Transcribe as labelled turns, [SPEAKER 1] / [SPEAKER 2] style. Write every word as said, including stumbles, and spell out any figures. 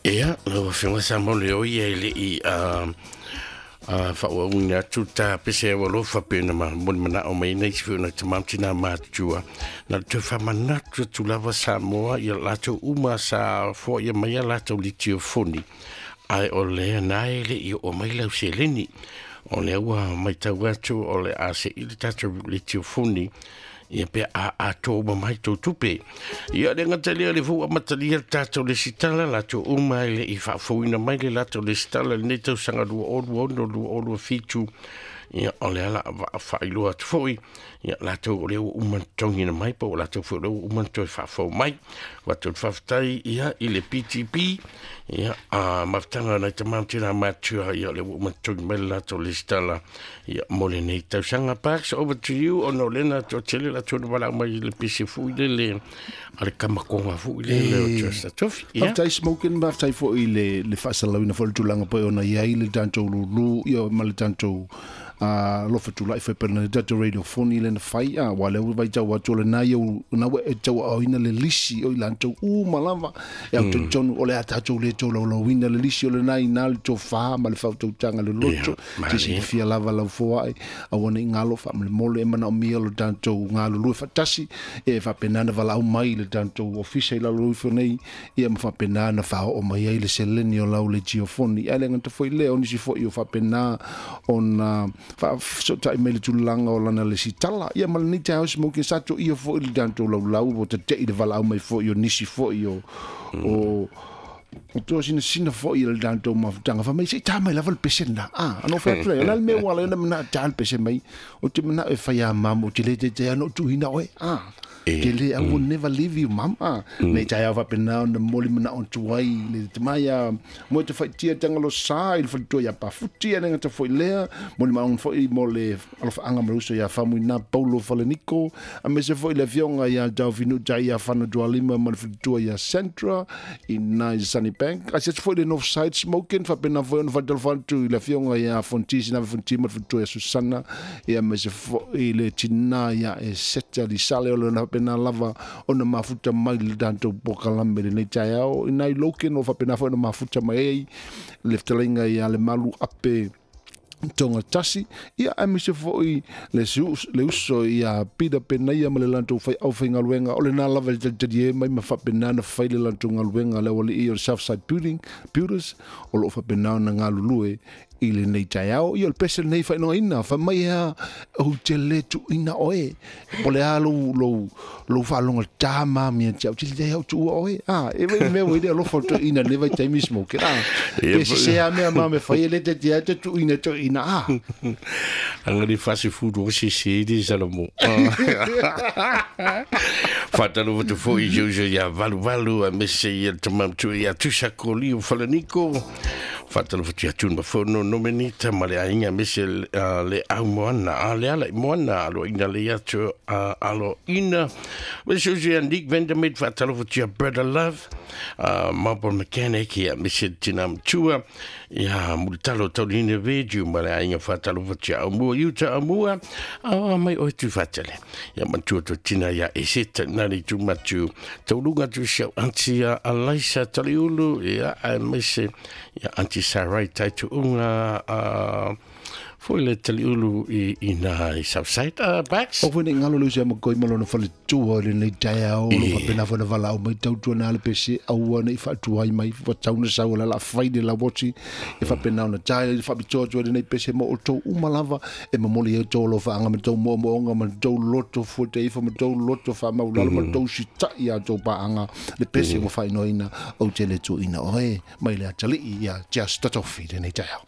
[SPEAKER 1] Ia, lau afioga Samo le o ia i le i a faaauauina atu ta pese au alofa pe na ma moli manao mai nei si na tamam tina matua na te whamanatu atu lava Samoa ia latou uma sa foia mai ia latou litiofoni ai o lea nae le i o mai lau seleni o lea ua maitau atu o le a se i le tatou litiofoni ia pe a a tō mai tō tupe. Ia le ngata lea le fua matalia tātou le sitala latou uma i le i faafoina mai le latou le sitala le nei tausaga lua olu ono lua olu fitu. Ia o le ala whaailoa atu foi. Ia latou o lea ua uma tongina mai po o latou foi o lea ua uma toe faafou mai. Watou whawhitai ia i le P T P. Ia a mafutanga nai tamam tēnā mātua ia o lea ua uma tongi mai le latou le sitala. Ia mo le nei tausaga. Parks, over to you. Ono lena tō tele latou na wala mai le pese fui le le a le kamakonga fui le le o Trust Tofi. Ia.
[SPEAKER 2] Whawhitai smoking, whawhitai foi le le whaasalauina foi le tulaga po ona iai le tatou lulu ia ma le tatou a lofa tula ife pe na tatou radio phone le na fai a wa le vai tau atu le na iau na we e tau au ina le lisi o i lantou u malava e au tonu o le a tatou le tau lau ina le lisi o le na ina le tau wha ma le whau tanga le loto te si fia lava lau foai a wana i ngalo wha ma le mole e mana o mia lo tatou ngalo lue whatasi e whapenana wala au mai le tatou ofisa i lalo ifo nei ia ma whapenana wha o mai ai le seleni o lau le geofoni a le ngata foi le o nisi foi o whapena o na fa so tai mele tulanga o lana le sitala ia ma le taos mo ke sato ia fo ile danto lau lau o te te ile vala mai fo io nisi fo io o o to sina sina fo ile danto ma tanga fa mai se ta mai lava le pese na ah ano fa ple la me wala na na ta le pese mai o te na e fa ya mamo te le te te ano tu hina oe ah te le I will never leave you mama nei tai au whapena na moli mana on tuai le te maia mo te whaitia tanga lo sa i le whalitua ia pafuti ane ngata foi lea moli ma on foi mo le alofa anga maruso ia whamui na Paulo Faleniko a me se foi le fionga ia tau finu tai ia whana tualima ma le whalitua ia Centra i nai Sunny Bank a se foi le North Side Smoking whapena foi on whatalfantu i le fionga ia Fontisi na Fonti ma le whalitua ia Susana ia me se foi le tina ia e seta li sale o le na pena lava ona mafuta mai le tatou pokalame le nei taeao i nai loken o faapena foi ona mafuta mai ai le fetalaiga ia le malu ape tonga tasi ia aemaise foi le le uso ia Peter Penaia ma le latou fai aufaigaluega o lena lava le talitali e mai ma faapena na fai le latou galuega le aualii o le Southside Building Builders o loo faapena ona galulue i le nei taeao ia o le pese lenei faailogaina fa mai ea ou te le tuuina oe po le a lou lou lou faaloga tā mia te au te le au tuua oe a e vai mea ua ile alofa tuuina le vai taimi smoke a pe se a mea ma me fai e le te te te tuuina tuuina a
[SPEAKER 1] angari fasi food o se se de Salomo Fatalo te foi juju ia valu valu a mese ia tamam tu ia tusakoli o Falaniko Fatalo te atun mafono nomenita ma le ainga mese le au moana a le ala moana alo ina le atu alo ina mese ia Nick Vandermeer fatalo te Brother Love Marble Mechanic ia mese tinam tua ia multalo tauline veju ma le ainga fatalo te au mua iuta au mua a mai o tu fatale ia matua to tina ia eseta nari tu matu taulunga tu siau anti Alaisa Taliulu ia a mese ia anti Sarai taitu unga a foi le Taliulu i i na i Southside uh, Backs.
[SPEAKER 2] O foi ngalo lu sia mo koi malo no fale tua le nei taeao lo faapena foi na valaau mai tautua na le pese aua nei faatuai mai ua tau na sau la la fai le lauoti e faapena ona tae le faapitoa tua le nei pese mo o tou uma lava e momoli ai tou alofaaga ma tou moomooga ma tou loto fuataifa ma tou loto faamaulalo ma tou sita'i a tou paaga le pese ua faaigoaina ou te le tuuina oe mai le atalii ia Just Tofi lenei taeao.